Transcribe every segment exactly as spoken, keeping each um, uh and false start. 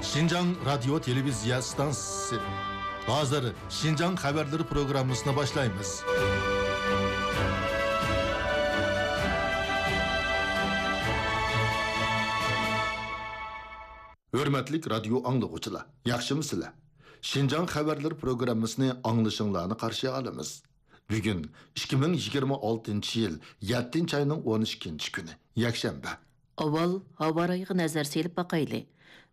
شىنجاڭ رادىيو تېلېۋىزىيە ئىستانسىسى. ھازىر شىنجاڭ خەۋەرلىرى پروگراممىسىنى باشلايمىز. ھۆرمەتلىك رادىيو ئاڭلىغۇچىلار، ياخشىمۇسىلەر؟ شىنجاڭ خەۋەرلىرى پروگراممىسىنى ئاڭلىشىڭلارنى قارشى ئالىمىز. بۈگۈن ئىككى مىڭ يىگىرمە ئالتىنچى يىل يەتتىنچى ئاينىڭ ئون ئىككىنچى كۈنى، يەكشەنبە. ئاۋۋال ھاۋا رايىغا نەزەر سېلىپ باقايلى.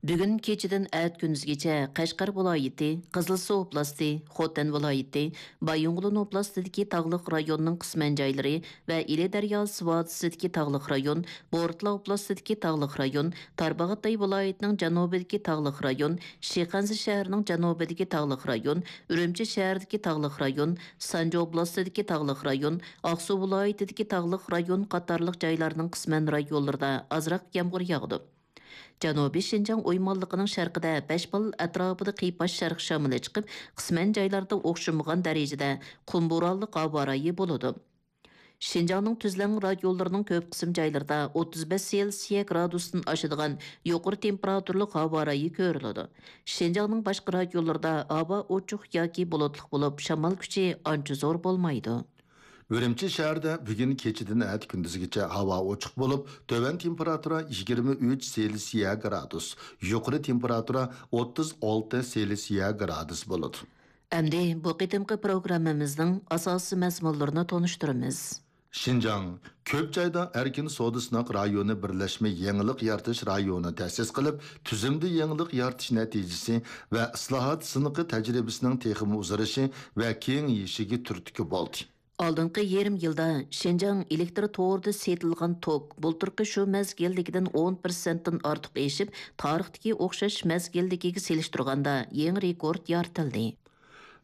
بۈگۈن كېچىدىن ئەتە كۈندۈزگىچە قەشقەر ۋىلايىتى، قىزىلسۇ ئوبلاستى، خوتەن ۋىلايىتى، بايىنغولىن ئوبلاستىدىكى تاغلىق رايوننىڭ قىسمەن جايلىرى ۋە ئىلى دەرياسى ۋادىسىدىكى تاغلىق رايون، بورتالا ئوبلاستىدىكى تاغلىق رايون، تارباغاتاي ۋىلايىتىنىڭ جەنۇبىدىكى تاغلىق رايون، شىخەنزە شەھىرىنىڭ جەنۇبىدىكى تاغلىق رايون، ئۈرۈمچى شەھىرىدىكى تاغلىق رايون، سانجى ئوبلاستىدىكى تاغلىق رايون، ئاقسۇ ۋىلايىتىدىكى تاغلىق رايون قاتارلىق جايلارنىڭ قىسمەن رايونلىرىدا ئازراق يامغۇر ياغىدۇ. جەنۇبىي شىنجاڭ ئويمانلىقىنىڭ شەرقىدە بەش باللا ئەتراپىدا قىيپاش شەرق شامىلى چىقىپ، قىسمەن جايلاردا ئوخشىمىغان دەرىجىدە قۇم بورانلىق ھاۋا رايى بولىدۇ. شىنجاڭنىڭ تۈزلەڭ رايونلىرىنىڭ كۆپ قىسىم جايلىرىدا ئوتتۇز بەش سېلسىيە گرادۇستىن ئاشىدىغان يۇقىرى تېمپېراتۇرىلىق ھاۋا رايى كۆرۈلىدۇ. شىنجاڭنىڭ باشقا رايونلىرىدا ھاۋا ئوچۇق ياكى بۇلۇتلۇق بولۇپ، شامال كۈچى ئانچە زور بولمايدۇ. ئۈرۈمچى شەھىرىدە بۈگۈن كېچىدىن ئەتە كۈندۈزگىچە ھاۋا ئوچۇق بولۇپ، تۆۋەن تېمپېراتۇرا يىگىرمە ئۈچ سېلسىيە گرادۇس، يۇقىرى تېمپېراتۇرا ئوتتۇز ئالتە سېلسىيە گرادۇس بولىدۇ. ئەمدى بۇ قېتىمقى پروگراممىمىزنىڭ ئاساسىي مەزمۇنلىرىنى تونۇشتۇرىمىز. شىنجاڭ كۆپ جايدا ئەركىن سودا سىناق رايونى بىرلەشمە يېڭىلىق يارىتىش رايونى تەسىس قىلىپ، تۈزۈمدە يېڭىلىق يارىتىش نەتىجىسى ۋە ئىسلاھات سىنىقى تەجرىبىسىنىڭ تېخىمۇ ئۇزىرىشى ۋە كېڭىيىشىگە تۈرتكە بولدى. ئالدىنقى يېرىم يىلدا شىنجاڭ ئېلېكتر تورىدا سېتىلغان توك بۇلتۇرقى شۇ مەزگىلدىكىدىن ئون پىرسەنتتىن ئارتۇق ئېشىپ، تارىختىكى ئوخشاش مەزگىلدىكىگە سېلىشتۇرغاندا يېڭى رېكورت يارىتىلدى.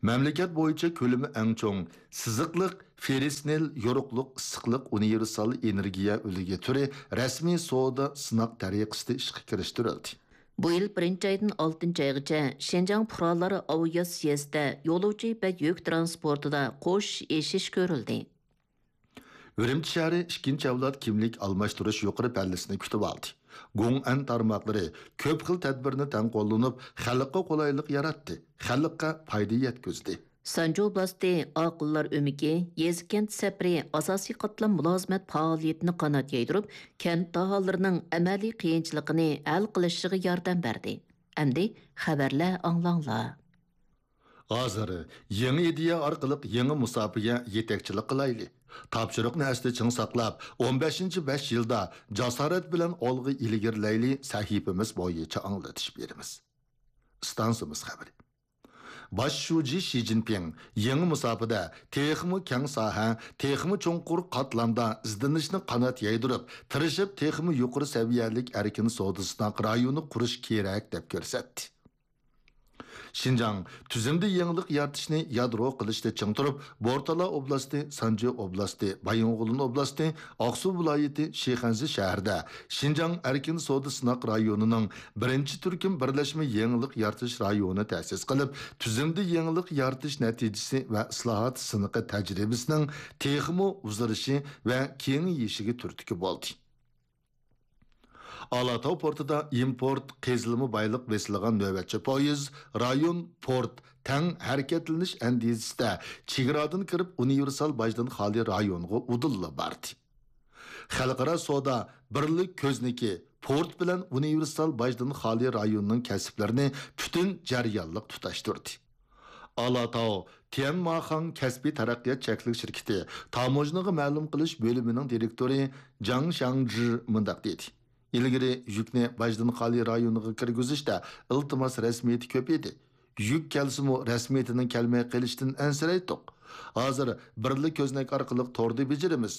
مەملىكەت بويىچە كۆلىمى ئەڭ چوڭ سىزىقلىق فېررىس نىل يورۇقلۇق ئىسسىقلىق ئۇنىۋېرسال ئېنېرگىيە ئۈلگە تۈرى رەسمىي سودا سىناق تەرىقىسىدە ئىشقا كىرىشتۈرۈلدى. بۇ يىل بىرىنچى ئايدىن ئالتىنچى ئايغىچە شىنجاڭ پۇقرالار ئاۋىئاتسىيەسىدە يولۇچى ۋە يۈك تىرانسپورتىدا قوش ئېشىش كۆرۈلدى. ئۈرۈمچى شەھىرى ئىككىنچى ئەۋلاد كىملىك ئالماشتۇرۇش يۇقىرى پەللىسىنى كۈتۈۋالدى. گوڭئەن تارماقلىرى كۆپ خىل تەدبىرنى تەڭ قوللىنىپ، خەلققە قولايلىق ياراتتى، خەلققە پايدا يەتكۈزدى. سانجى ئوبلاستى ئاقىللار ئۆمىكى يېزا-كەنت سەپىرى ئاساسىي قاتلام مۇلازىمەت پائالىيىتىنى قانات يايدۇرۇپ، كەنت ئاھالىلىرىنىڭ ئەمەلىي قىيىنچىلىقىنى ھەل قىلىشىغا ياردەم بەردى. ئەمدى خەۋەرلەر ئاڭلاڭلار. ھازىر يېڭى ئىدىيە ئارقىلىق يېڭى مۇساپىگە يېتەكچىلىك قىلايلى. تاپشۇرۇقنى ئەستە چىڭ ساقلاپ، ئون بەشىنچى بەش يىلدا جاسارەت بىلەن ئالغا ئىلگىرىلەيلى سەھىپىمىز بويىچە ئاڭلىتىش بېرىمىز. ئىستانسىمىز خەۋىرى. باش شۇجى شى جىنپىڭ يېڭى مۇساپىدە تېخىمۇ كەڭ ساھە، تېخىمۇ چوڭقۇر قاتلامدا ئىزدىنىشنى قانات يايدۇرۇپ، تىرىشىپ تېخىمۇ يۇقىرى سەۋىيەلىك ئەركىن سودا سىناق رايونى قۇرۇش كېرەك، دەپ كۆرسەتتى. شىنجاڭ تۈزۈمدە يېڭىلىق يارىتىشنى يادرو قىلىشتا چىڭ تۇرۇپ، بورتالا ئوبلاستى، سانجى ئوبلاستى، بايىنغولىن ئوبلاستى، ئاقسۇ ۋىلايىتى شىخەنزە شەھىرىدە شىنجاڭ ئەركىن سودا سىناق رايونىنىڭ بىرىنچى تۈركۈم بىرلەشمە يېڭىلىق يارىتىش رايونى تەسىس قىلىپ، تۈزۈمدە يېڭىلىق يارىتىش نەتىجىسى ۋە ئىسلاھات سىنىقى تەجرىبىسىنىڭ تېخىمۇ ئۇزىرىشى ۋە كېڭىيىشىگە تۈرتكە بولدى. ئالاتاۋ پورتىدا ئىمپورت قېزىلما بايلىق بېسىلغان نۆۋەتچى پويىز رايون پورت تەڭ ھەرىكەتلىنىش ئەندىزىسىدە چېگرادىن كىرىپ ئۇنىۋېرسال باجدىن خالىي رايونغا ئۇدۇللا باردى. خەلقئارا سودا بىرلىك كۆزنىكى پورت بىلەن ئۇنىۋېرسال باجدىن خالىي رايونىنىڭ كەسىپلىرىنى پۈتۈن جەريانلىق تۇتاشتۇردى. ئالاتاۋ تيەنماخاڭ كەسپىي تەرەققىيات چەكلىك شىركىتى تاموژنىغا مەلۇم قىلىش بۆلۈمىنىڭ دىرېكتورى جاڭ شياڭجى مۇنداق دېدى: «ئىلگىرى يۈكنى باجدىن خالىي رايونىغا كىرگۈزۈشتە ئىلتىماس رەسمىيىتى كۆپ ئىدى. يۈك كەلسىمۇ، رەسمىيىتىنىڭ كەلمەي قېلىشىدىن ئەنسىرەيتتۇق. ھازىر بىرلا كۆزنەك ئارقىلىق توردا بېجىرىمىز.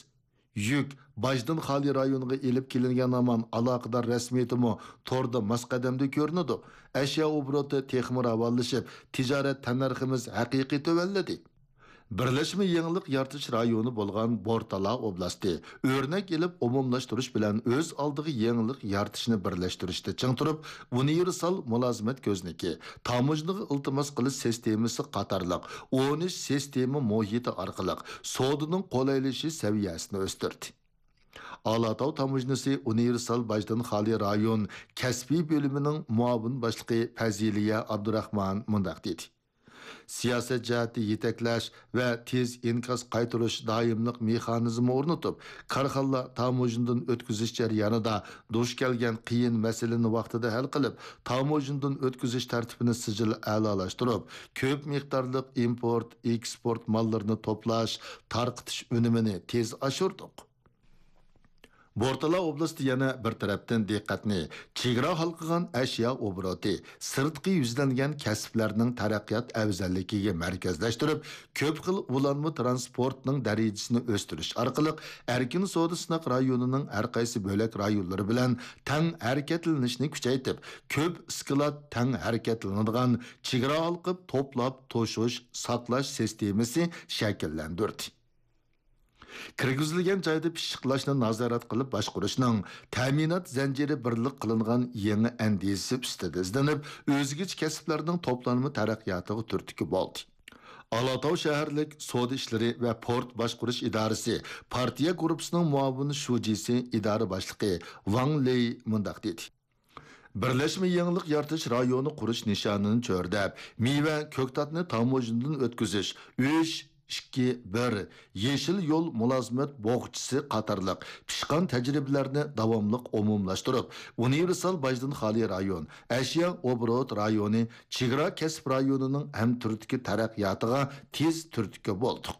يۈك باجدىن خالىي رايونغا ئېلىپ كېلىنگەن ھامان ئالاقىدار رەسمىيىتىمۇ توردا ماس قەدەمدە كۆرۈنىدۇ. ئەشيا ئوبوروتى تېخىمۇ راۋانلىشىپ، تىجارەت تەننەرخىمىز ھەقىقىي تۆۋەنلىدى.» بىرلەشمە يېڭىلىق يارىتىش رايونى بولغان بورتالا ئوبلاستى ئۆرنەك ئېلىپ ئومۇملاشتۇرۇش بىلەن ئۆز ئالدىغا يېڭىلىق يارىتىشنى بىرلەشتۈرۈشتە چىڭ تۇرۇپ، ئۇنىۋېرسال مۇلازىمەت كۆزنىكى، تاموژنىغا ئىلتىماس قىلىش سىستېمىسى قاتارلىق ئون ئۈچ سىستېما مۇھىتى ئارقىلىق سودىنىڭ قولايلىشىش سەۋىيەسىنى ئۆستۈردى. ئالاتاۋ تاموژنىسى ئۇنىۋېرسال باجدىن خالىي رايون كەسپىي بۆلۈمىنىڭ مۇئاۋىن باشلىقى پەزىلىيە ئابدۇراخمان مۇنداق دېدى: سىياسەت جەھەتتە يېتەكلەش ۋە تېز ئىنكاس قايتۇرۇش دائىملىق مېخانىزمى ئورنىتىپ، كارخانىلار تاموژنىدىن ئۆتكۈزۈش جەريانىدا دۇچ كەلگەن قىيىن مەسىلىنى ۋاقتىدا ھەل قىلىپ، تاموژنىدىن ئۆتكۈزۈش تەرتىپىنى سىجىل ئەلالاشتۇرۇپ، كۆپ مىقدارلىق ئىمپورت، ئېكسپورت ماللىرىنى توپلاش، تارقىتىش ئۈنۈمىنى تېز ئاشۇردۇق. بورتالا ئوبلاستى يەنە بىر تەرەپتىن دىققەتنى چېگرا ھالقىغان ئەشيا ئوبوروتى، سىرتقى يۈزلەنگەن كەسىپلەرنىڭ تەرەققىيات ئەۋزەللىكىگە مەركەزلەشتۈرۈپ، كۆپ خىل ئۇلانما تىرانسپورتنىڭ دەرىجىسىنى ئۆستۈرۈش ئارقىلىق، ئەركىن سودا سىناق رايونىنىڭ ھەر قايسى بۆلەك رايونلىرى بىلەن تەڭ ھەرىكەتلىنىشنى كۈچەيتىپ، كۆپ ئىسكىلات تەڭ ھەرىكەتلىنىدىغان چېگرا ھالقىپ توپلاپ توشۇش، ساقلاش سىستېمىسى شەكىللەندۈردى. كىرگۈزۈلگەن جايدا پىششىقلاشنى نازارەت قىلىپ باشقۇرۇشنىڭ تەمىنات زەنجىرى بىرلىك قىلىنغان يېڭى ئەندىزىسى ئۈستىدە ئىزدىنىپ، ئۆزگىچە كەسىپلەرنىڭ توپلانما تەرەققىياتىغا تۈرتكە بولدى. ئالاتاۋ شەھەرلىك سودا ئىشلىرى ۋە پورت باشقۇرۇش ئىدارىسى پارتىيە گۇرۇپپىسىنىڭ مۇئاۋىن شۇجىسى ئىدارە باشلىقى ۋاڭ لېي مۇنداق دېدى: بىرلەشمە يېڭىلىق يارىتىش رايونى قۇرۇش نىشانىنى چۆرىدەپ، مېۋە، كۆكتاتنى تاموژنىدىن ئۆتكۈزۈش، ئۈچ، ئىككى، بىر، يېشىل يول مۇلازىمەت بوغچىسى قاتارلىق پىشقان تەجرىبىلەرنى داۋاملىق ئومۇملاشتۇرۇپ، ئۇنىۋېرسال باجدىن خالىي رايون، ئەشيا ئوبوروت رايونى، چېگرا كەسىپ رايونىنىڭ ھەمتۈرتكە تەرەققىياتىغا تېز تۈرتكە بولدۇق.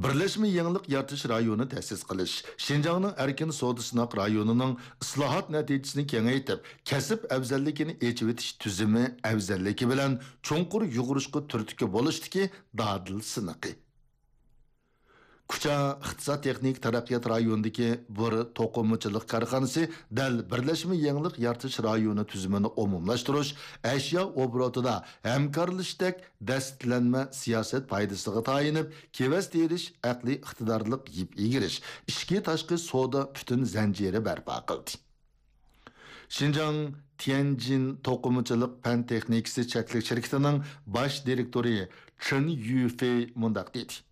بىرلەشمە يېڭىلىق يارىتىش رايونى تەسىس قىلىش، شىنجاڭنىڭ ئەركىن سودا سىناق رايونىنىڭ ئىسلاھات نەتىجىسىنى كېڭەيتىپ، كەسىپ ئەۋزەللىكىنى ئېچىۋېتىش تۈزۈمى ئەۋزەللىكى بىلەن چوڭقۇر يۇغۇرۇشقا تۈرتكە بولۇشتىكى دادىل سىنىقى. كۇچا ئىقتىساد تېخنىكا تەرەققىيات رايونىدىكى بىر توقۇمىچىلىق كارخانىسى دەل بىرلەشمە يېڭىلىق يارىتىش رايونى تۈزۈمىنى ئومۇملاشتۇرۇش، ئەشيا ئوبوروتىدا ھەمكارلىشىشتەك دەستىلەنمە سىياسەت پايدىسىغا تايىنىپ، كېۋەز تېرىش، ئەقلىي ئىقتىدارلىق يىپ ئىگىرىش، ئىچكى تاشقى سودا پۈتۈن زەنجىرى بەرپا قىلدى. شىنجاڭ تيەنجىن توقۇمىچىلىق پەن تېخنىكىسى چەكلىك شىركىتىنىڭ باش دىرېكتورى چېن يۈفېي مۇنداق دېدى: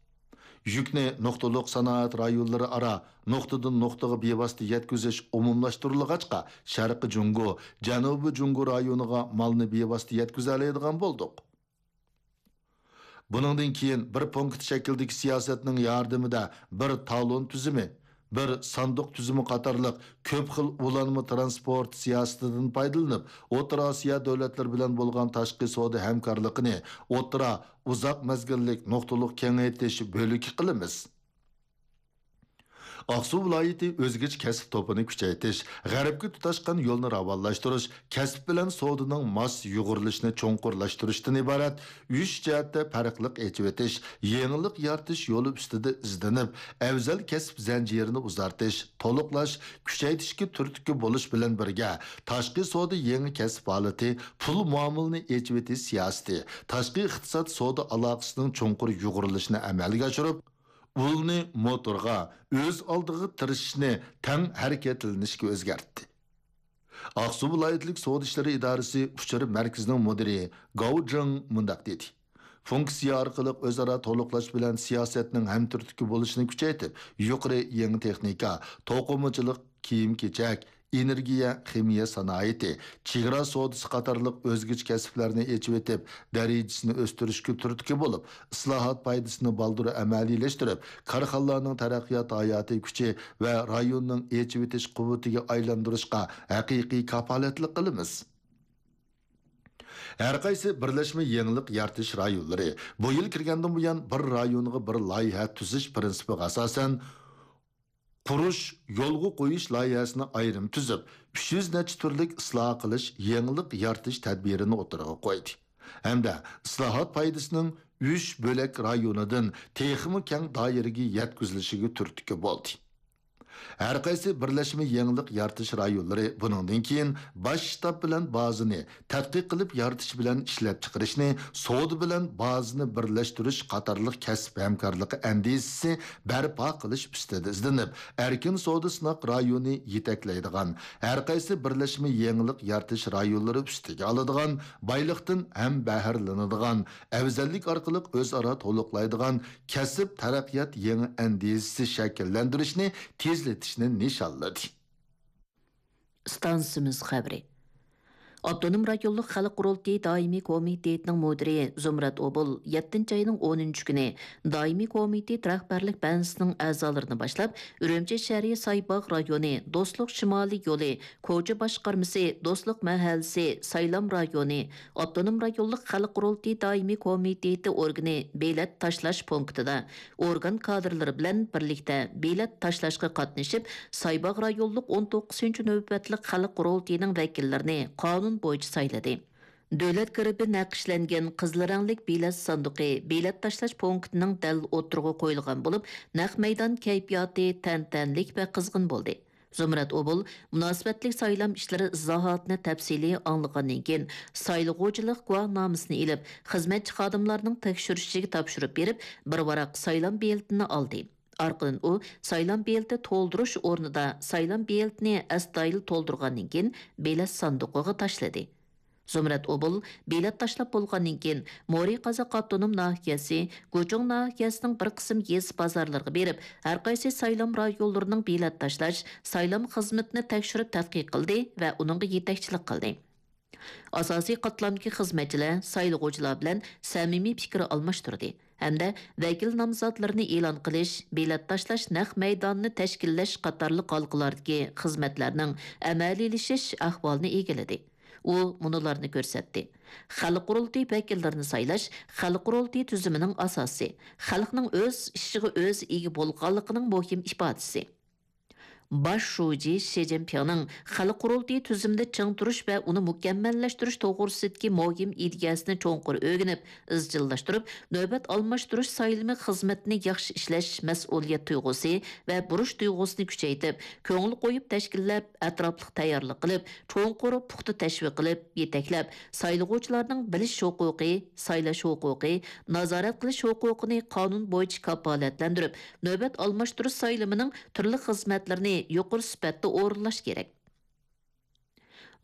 يۈكنى نۇقتىلىق سانائەت رايونلىرى ئارا نۇقتىدىن نۇقتىغا بىۋاسىتە يەتكۈزۈش ئومۇملاشتۇرۇلغاچقا، شەرقىي جۇڭگو، جەنۇبىي جۇڭگو رايونىغا مالنى بىۋاسىتە يەتكۈزەلەيدىغان بولدۇق. بۇنىڭدىن كېيىن بىر پونكىت شەكلىدىكى سىياسەتنىڭ ياردىمىدە بىر تالون تۈزۈمى، بىر ساندۇق تۈزۈمى قاتارلىق كۆپ خىل ئۇلانما تىرانسپورت سىياسىتىدىن پايدىلىنىپ، ئوتتۇرا ئاسىيا دۆلەتلىرى بىلەن بولغان تاشقى سودا ھەمكارلىقىنى ئوتتۇرا، ئۇزاق مەزگىللىك نۇقتىلىق كېڭەيتىش بۆلىكى قىلىمىز. ئاقسۇ ۋىلايىتى ئۆزگىچە كەسىپ توپىنى كۈچەيتىش، غەربكە تۇتاشقان يولنى راۋانلاشتۇرۇش، كەسىپ بىلەن سودىنىڭ ماس يۇغۇرۇلۇشىنى چوڭقۇرلاشتۇرۇشتىن ئىبارەت ئۈچ جەھەتتە پەرقلىق ئېچىۋېتىش، يېڭىلىق يارىتىش يولى ئۈستىدە ئىزدىنىپ، ئەۋزەل كەسىپ زەنجىرىنى ئۇزارتىش، تولۇقلاش، كۈچەيتىشكە تۈرتكە بولۇش بىلەن بىرگە، تاشقى سودا يېڭى كەسىپ ھالىتى، پۇل مۇئامىلىنى ئېچىۋېتىش سىياسىتى، تاشقى ئىقتىساد سودا ئالاقىسىنىڭ چوڭقۇر يۇغۇرۇلۇشىنى ئەمەلگە ئاشۇرۇپ، ئۇلنى موتورغا، ئۆز ئالدىغا تىرىشىشنى تەڭ ھەرىكەتلىنىشكە ئۆزگەرتتى. ئاقسۇ ۋىلايەتلىك سودا ئىشلىرى ئىدارىسى ئۇچۇر مەركىزىنىڭ مۇدىرى گاۋ جېڭ مۇنداق دېدى: فۇنكسىيە ئارقىلىق ئۆزئارا تولۇقلاش بىلەن سىياسەتنىڭ ھەمتۈرتكە بولۇشىنى كۈچەيتىپ، يۇقىرى يېڭى تېخنىكا، توقۇمىچىلىق، كىيىم-كېچەك، ئېنېرگىيە، خىمىيە سانائىتى، چېگرا سودىسى قاتارلىق ئۆزگىچە كەسىپلەرنى ئېچىۋېتىپ، دەرىجىسىنى ئۆستۈرۈشكە تۈرتكە بولۇپ، ئىسلاھات پايدىسىنى بالدۇر ئەمەلىيلەشتۈرۈپ، كارخانىلارنىڭ تەرەققىيات ھاياتىي كۈچى ۋە رايوننىڭ ئېچىۋېتىش قۇۋۋىتىگە ئايلاندۇرۇشقا ھەقىقىي كاپالەتلىك قىلىمىز. ھەر قايسى بىرلەشمە يېڭىلىق يارىتىش رايونلىرى بۇ يىل كىرگەندىن بۇيان، بىر رايونغا بىر لايىھە تۈزۈش پىرىنسىپىغا ئاساسەن، قۇرۇش، يولغا قويۇش لايىھەسىنى ئايرىم تۈزۈپ، ئۈچ يۈز نەچچە تۈرلۈك ئىسلاھ قىلىش، يېڭىلىق يارىتىش تەدبىرىنى ئوتتۇرىغا قويدى ھەمدە ئىسلاھات پايدىسىنىڭ ئۈچ بۆلەك رايونىدىن تېخىمۇ كەڭ دائىرىگە يەتكۈزۈلۈشىگە تۈرتكە بولدى. ھەرقايسى بىرلەشمە يېڭىلىق يارىتىش رايونلىرى بۇنىڭدىن كېيىن باش شتاب بىلەن بازىنى تەتقىق قىلىپ يارىتىش بىلەن ئىشلەپچىقىرىشنى، سودا بىلەن بازىنى بىرلەشتۈرۈش قاتارلىق كەسىپ ھەمكارلىقى ئەندىزىسى بەرپا قىلىش ئۈستىدە ئىزدىنىپ، ئەركىن سودا سىناق رايونى يېتەكلەيدىغان، ھەرقايسى بىرلەشمە يېڭىلىق يارىتىش رايونلىرى ئۈستىگە ئالىدىغان، بايلىقتىن ھەم بەھرىلىنىدىغان، ئەۋزەللىك ئارقىلىق ئۆزئارا تولۇقلايدىغان كەسىپ تەرەققىيات يېڭى ئەندىزىسى شەكىللەندۈرۈشنى تېزلىتىشنى نىشانلىدى. ئىستانسىمىز خەۋىرى. ئاپتونوم رايونلۇق خەلق قۇرۇلتىيى دائىمىي كومىتېتىنىڭ مۇدىرى زۇمرەت ئوبۇل يەتتىنچى ئاينىڭ ئونىنچى كۈنى دائىمىي كومىتېت رەھبەرلىك بەنزىسىنىڭ ئەزالىرىنى باشلاپ، ئۈرۈمچى شەھىرى سايباغ رايونى دوستلۇق شىمالىي يولى كوچا باشقارمىسى، دوستلۇق مەھەللىسى، سايلام رايونى، ئاپتونوم رايونلۇق خەلق قۇرۇلتىيى دائىمىي كومىتېتى ئورگىنى بېلەت تاشلاش پونكىتىدا ئورگان كادىرلىرى بىلەن بىرلىكتە بېلەت تاشلاشقا قاتنىشىپ، سايباغ رايونلۇق ئون توققۇزىنچى نۆۋەتلىك خەلق قۇرۇلتىيىنىڭ ۋەكىللىرىنى قانۇن بويىچە سايلىدى. دۆلەت گېربى نەقىشلەنگەن قىزىل رەڭلىك بېلەت ساندۇقى بېلەت تاشلاش پونكىتىنىڭ دەل ئوتتۇرىغا قويۇلغان بولۇپ، نەق مەيدان كەيپىياتى تەنتەنىلىك ۋە قىزغىن بولدى. زۇمرەت ئوبۇل مۇناسىۋەتلىك سايلام ئىشلىرى ئىزاھاتىنى تەپسىلىي ئاڭلىغاندىن كېيىن، سايلىغۇچىلىق گۇۋاھنامىسىنى ئېلىپ، خىزمەتچى خادىملارنىڭ تەكشۈرۈشىگە تاپشۇرۇپ بېرىپ، بىر ۋاراق سايلام بېلىتىنى ئالدى. ئارقىدىن ئۇ سايلام بېلىتى تولدۇرۇش ئورنىدا سايلام بېلىتىنى ئەستايىدىل تولدۇرغاندىن كېيىن، بېلەت ساندۇقىغا تاشلىدى. زۇمرەت ئوبۇل بېلەت تاشلاپ بولغاندىن كېيىن، مورى قازاق ئاپتونوم ناھىيەسى، گۇچۇڭ ناھىيەسىنىڭ بىر قىسىم يېزا بازارلىرىغا بېرىپ، ھەرقايسى سايلام رايونلىرىنىڭ بېلەت تاشلاش، سايلام خىزمىتىنى تەكشۈرۈپ تەتقىق قىلدى ۋە ئۇنىڭغا يېتەكچىلىك قىلدى. ئاساسىي قاتلامدىكى خىزمەتچىلەر سايلىغۇچىلار بىلەن سەمىمىي پىكىر ئالماشتۇردى ھەمدە ۋەكىل نامزاتلىرىنى ئېلان قىلىش، بېلەت تاشلاش نەق مەيدانىنى تەشكىللەش قاتارلىق ھالقىلاردىكى خىزمەتلەرنىڭ ئەمەلىيلىشىش ئەھۋالىنى ئىگىلىدى. ئۇ مۇنۇلارنى كۆرسەتتى: خەلق قۇرۇلتىيى ۋەكىللىرىنى سايلاش خەلق قۇرۇلتىيى تۈزۈمىنىڭ ئاساسى، خەلقنىڭ ئۆز ئىشىغا ئۆزى ئىگە بولغانلىقىنىڭ مۇھىم ئىپادىسى. باش شۇجى شى جىنپىڭنىڭ خەلق قۇرۇلتىيى تۈزۈمىدە چىڭ تۇرۇش ۋە ئۇنى مۇكەممەللەشتۈرۈش توغرىسىدىكى مۇھىم ئىدىيەسىنى چوڭقۇر ئۆگىنىپ، ئىزچىللاشتۇرۇپ، نۆۋەت ئالماشتۇرۇش سايلىمى خىزمىتىنى ياخشى ئىشلەش مەسئۇلىيەت تۇيغۇسى ۋە بۇرچ تۇيغۇسىنى كۈچەيتىپ، كۆڭۈل قويۇپ تەشكىللەپ، ئەتراپلىق تەييارلىق قىلىپ، چوڭقۇر پۇختا تەشۋىق قىلىپ، يېتەكلەپ، سايلىغۇچىلارنىڭ بىلىش ھوقۇقى، سايلاش ھوقۇقى، نازارەت قىلىش ھوقۇقىنى قانۇن بويىچە كاپالەتلەندۈرۈپ، نۆۋەت ئالماشتۇرۇش سايلىمىنىڭ تۈرلۈك خىزمەتلىرىنى يۇقىرى سۈپەتتە ئورۇنلاش كېرەك.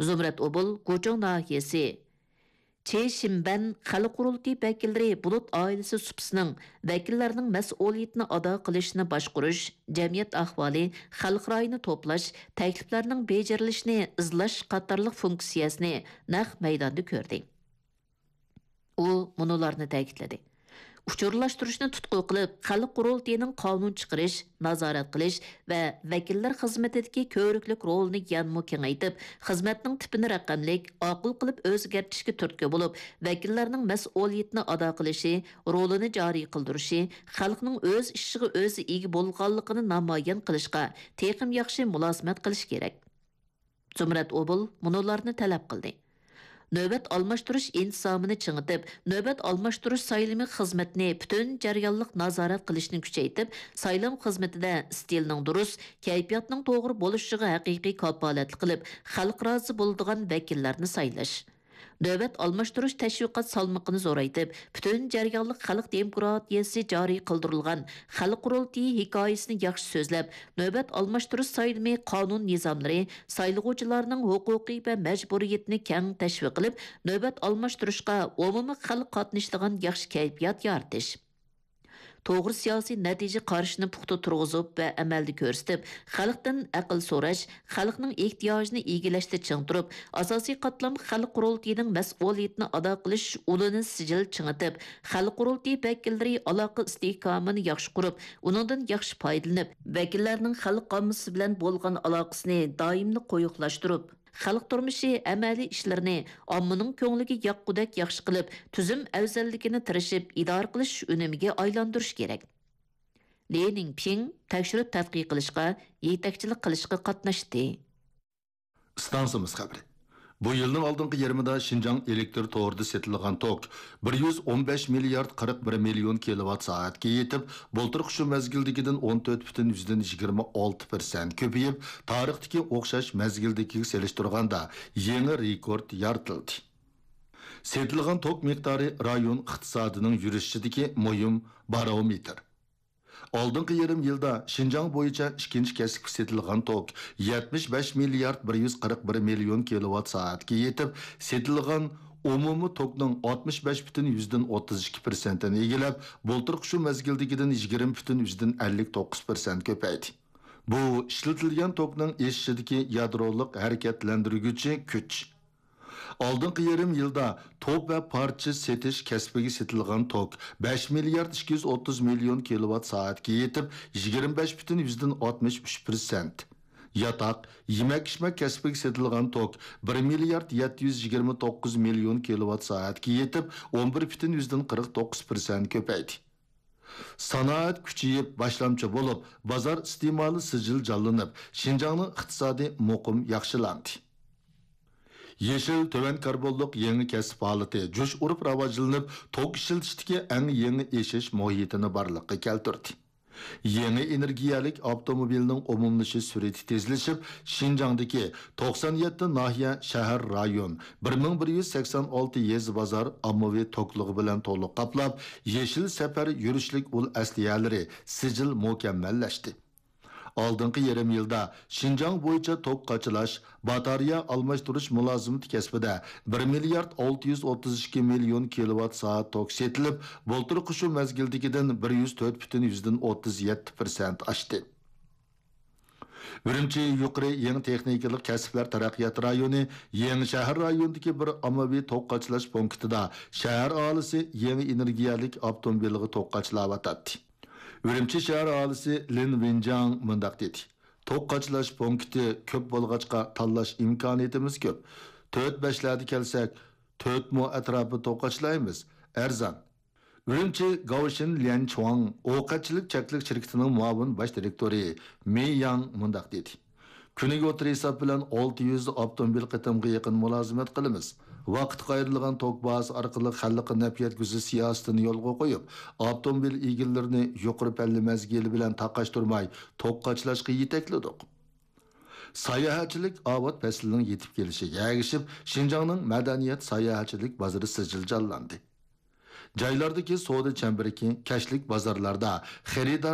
زۇمرەت ئوبۇل گۇچۇڭ ناھىيەسى چېشىنبەن خەلق قۇرۇلتىيى ۋەكىللىرى بۇلۇت ئائىلىسى سۇپىسىنىڭ ۋەكىللەرنىڭ مەسئۇلىيىتىنى ئادا قىلىشىنى باشقۇرۇش، جەمئىيەت ئەھۋالى، خەلق رايىنى توپلاش، تەكلىپلەرنىڭ بېجىرىلىشىنى ئىزدەش قاتارلىق فۇنكسىيەسىنى نەق مەيداندا كۆردى. ئۇ مۇنۇلارنى تەكىتلىدى: ئۇچۇرلاشتۇرۇشنى تۇتقا قىلىپ، خەلق قۇرۇلتىيىنىڭ قانۇن چىقىرىش، نازارەت قىلىش ۋە ۋەكىللەر خىزمىتىدىكى كۆۋرۈكلۈك رولىنى يەنىمۇ كېڭەيتىپ، خىزمەتنىڭ تىپىنى رەقەملىك، ئاقىل قىلىپ ئۆزگەرتىشكە تۈرتكە بولۇپ، ۋەكىللەرنىڭ مەسئۇلىيىتىنى ئادا قىلىشى، رولىنى جارى قىلدۇرۇشى، خەلقنىڭ ئۆز ئىشىغا ئۆزى ئىگە بولغانلىقىنى نامايان قىلىشقا تېخىمۇ ياخشى مۇلازىمەت قىلىش كېرەك. زۇمرەت ئوبۇل مۇنۇلارنى تەلەپ قىلدى: نۆۋەت ئالماشتۇرۇش ئىنتىزامىنى چىڭىتىپ، نۆۋەت ئالماشتۇرۇش سايلىمى خىزمىتىنى پۈتۈن جەريانلىق نازارەت قىلىشنى كۈچەيتىپ، سايلام خىزمىتىدە ئىستىلنىڭ دۇرۇس، كەيپىياتنىڭ توغرا بولۇشىغا ھەقىقىي كاپالەتلىك قىلىپ، خەلق رازى بولىدىغان ۋەكىللەرنى سايلاش. نۆۋەت ئالماشتۇرۇش تەشۋىقات سالمىقىنى زورايتىپ، پۈتۈن جەريانلىق خەلق دېموكراتىيەسى جارى قىلدۇرۇلغان خەلق قۇرۇلتىيى ھېكايىسىنى ياخشى سۆزلەپ، نۆۋەت ئالماشتۇرۇش سايلىمى قانۇن نىزاملىرى، سايلىغۇچىلارنىڭ ھوقۇقى ۋە مەجبۇرىيىتىنى كەڭ تەشۋىق قىلىپ، نۆۋەت ئالماشتۇرۇشقا ئومۇمىي خەلق قاتنىشىدىغان ياخشى كەيپىيات يارىتىش. توغرا سىياسىي نەتىجە قارىشىنى پۇختا تۇرغۇزۇپ ۋە ئەمەلدە كۆرسىتىپ، خەلقتىن ئەقىل سوراش، خەلقنىڭ ئېھتىياجىنى ئىگىلەشتە چىڭ تۇرۇپ، ئاساسىي قاتلام خەلق قۇرۇلتىيىنىڭ مەسئۇلىيىتىنى ئادا قىلىش ئۇلىنى سىجىل چىڭىتىپ، خەلق قۇرۇلتىيى ۋەكىللىرى ئالاقە ئىستىھكامىنى ياخشى قۇرۇپ، ئۇنىڭدىن ياخشى پايدىلىنىپ، ۋەكىللەرنىڭ خەلق ئاممىسى بىلەن بولغان ئالاقىسىنى دائىملىق قويۇقلاشتۇرۇپ، خەلق تۇرمۇشى ئەمەلىي ئىشلىرىنى ئاممىنىڭ كۆڭلىگە ياققۇدەك ياخشى قىلىپ، تۈزۈم ئەۋزەللىكىنى تىرىشىپ ئىدارە قىلىش ئۈنۈمىگە ئايلاندۇرۇش كېرەك. لى نىڭپىڭ تەكشۈرۈپ تەتقىق قىلىشقا، يېتەكچىلىك قىلىشقا قاتناشتى. ئىستانسىمىز خەۋىرى. بۇ يىلنىڭ ئالدىنقى يېرىمىدا شىنجاڭ ئېلېكتر تورىدا سېتىلغان توك بىر يۈز ئون بەش مىليارد قىرىق بىر مىليون كىلوۋات سائەتكە يېتىپ، بۇلتۇرقى شۇ مەزگىلدىكىدىن ئون تۆت پۈتۈن يۈزدىن يىگىرمە ئالتە پىرسەنت كۆپىيىپ، تارىختىكى ئوخشاش مەزگىلدىكىگە سېلىشتۇرغاندا يېڭى رېكورت يارىتىلدى. سېتىلغان توك مىقدارى رايون ئىقتىسادىنىڭ يۈرۈشىدىكى مۇھىم بارومېتىر. ئالدىنقى يېرىم يىلدا شىنجاڭ بويىچە ئىككىنچى كەسىپكە سېتىلغان توك يەتمىش بەش مىليارد بىر يۈز قىرىق بىر مىليون كىلوۋات سائەتكە يېتىپ، سېتىلغان ئومۇمىي توكنىڭ ئاتمىش بەش پۈتۈن يۈزدىن ئوتتۇز ئىككى پىرسەنتىنى ئىگىلەپ، بۇلتۇرقى شۇ مەزگىلدىكىدىن يىگىرمە پۈتۈن يۈزدىن ئەللىك توققۇز پىرسەنت كۆپەيدى. بۇ ئىشلىتىلگەن توكنىڭ ئېشىشىدىكى يادرولۇق ھەرىكەتلەندۈرگۈچى كۈچ. ئالدىنقى يېرىم يىلدا توپ ۋە پارچە سېتىش كەسپىگە سېتىلغان توك بەش مىليارد ئىككى يۈز ئوتتۇز مىليون كىلوۋات سائەتكە يېتىپ، يىگىرمە بەش پۈتۈن يۈزدىن ئاتمىش ئۈچ پىرسەنت. ياتاق، يېمەك-ئىچمەك كەسپىگە سېتىلغان توك بىر مىليارد يەتتە يۈز يىگىرمە توققۇز مىليون كىلوۋات سائەتكە يېتىپ، ئون بىر پۈتۈن يۈزدىن قىرىق توققۇز پىرسەنت كۆپەيدى. سانائەت كۈچىيىپ، باشلامچى بولۇپ، بازار ئىستېمالى سىجىل جانلىنىپ، شىنجاڭنىڭ ئىقتىسادى مۇقىم ياخشىلاندى. يېشىل، تۆۋەن كاربونلۇق يېڭى كەسىپ ھالىتى جۇش ئۇرۇپ راۋاجلىنىپ، توك ئىشلىتىشتىكى ئەڭ يېڭى ئېشىش مۇھىتىنى بارلىققا كەلتۈردى. يېڭى ئېنېرگىيەلىك ئاپتوموبىلنىڭ ئومۇملىشىش سۈرئىتى تېزلىشىپ، شىنجاڭدىكى توقسان يەتتە ناھىيە، شەھەر، رايون، بىر مىڭ بىر يۈز سەكسەن ئالتە يېزا، بازار ئاممىۋى توكلۇقى بىلەن تولۇق قاپلاپ، يېشىل سەپەر يۈرۈشلۈك ئۇل ئەسلىھەلىرى سىجىل مۇكەممەللەشتى. ئالدىنقى يېرىم يىلدا شىنجاڭ بويىچە توك قاچىلاش، باتارېيە ئالماشتۇرۇش مۇلازىمىتى كەسپىدە بىر مىليارد ئالتە يۈز ئوتتۇز ئىككى مىليون كىلوۋات سائەت توك سېتىلىپ، بۇلتۇرقى شۇ مەزگىلدىكىدىن بىر يۈز تۆت پۈتۈن يۈزدىن ئوتتۇز يەتتە پىرسەنت ئاشتى. ئۈرۈمچى يۇقىرى يېڭى تېخنىكىلىق كەسىپلەر تەرەققىيات رايونى، يېڭى شەھەر رايونىدىكى بىر ئاممىۋى توك قاچىلاش پونكىتىدا شەھەر ئاھالىسى يېڭى ئېنېرگىيەلىك ئاپتوموبىلىغا توك قاچىلاۋاتاتتى. ئۈرۈمچى شەھەر ئاھالىسى لىن ۋېنجاڭ مۇنداق دېدى: توك قاچىلاش پونكىتى كۆپ بولغاچقا، تاللاش ئىمكانىيىتىمىز كۆپ. تۆت بەشلەردە كەلسەك، تۆت مو ئەتراپىدا توك قاچىلايمىز. ئەرزان. ئۈرۈمچى گاۋشىن ليەنچۇاڭ ئوقەتچىلىك چەكلىك شىركىتىنىڭ مۇئاۋىن باش دىرېكتورى مېي ياڭ مۇنداق دېدى: كۈنىگە ئوتتۇرا ھېساب بىلەن ئالتە يۈز ئاپتوموبىل قېتىمغا يېقىن مۇلازىمەت قىلىمىز. ۋاقىتقا ئايرىلغان توك بازىسى ئارقىلىق خەلققە نەپ يەتكۈزۈش سىياسىتىنى يولغا قويۇپ، ئاپتوموبىل ئىگىلىرىنى يۇقىرى پەللە مەزگىلى بىلەن تاقاشتۇرماي توك قاچىلاشقا يېتەكلىدۇق. ساياھەتچىلىك ئاۋات پەسلىنىڭ يېتىپ كېلىشىگە ئەگىشىپ، شىنجاڭنىڭ مەدەنىيەت ساياھەتچىلىك بازىرى سىجىل جانلاندى. جايلاردىكى سودا چەمبىرىكى، كەچلىك بازارلاردا خېرىدار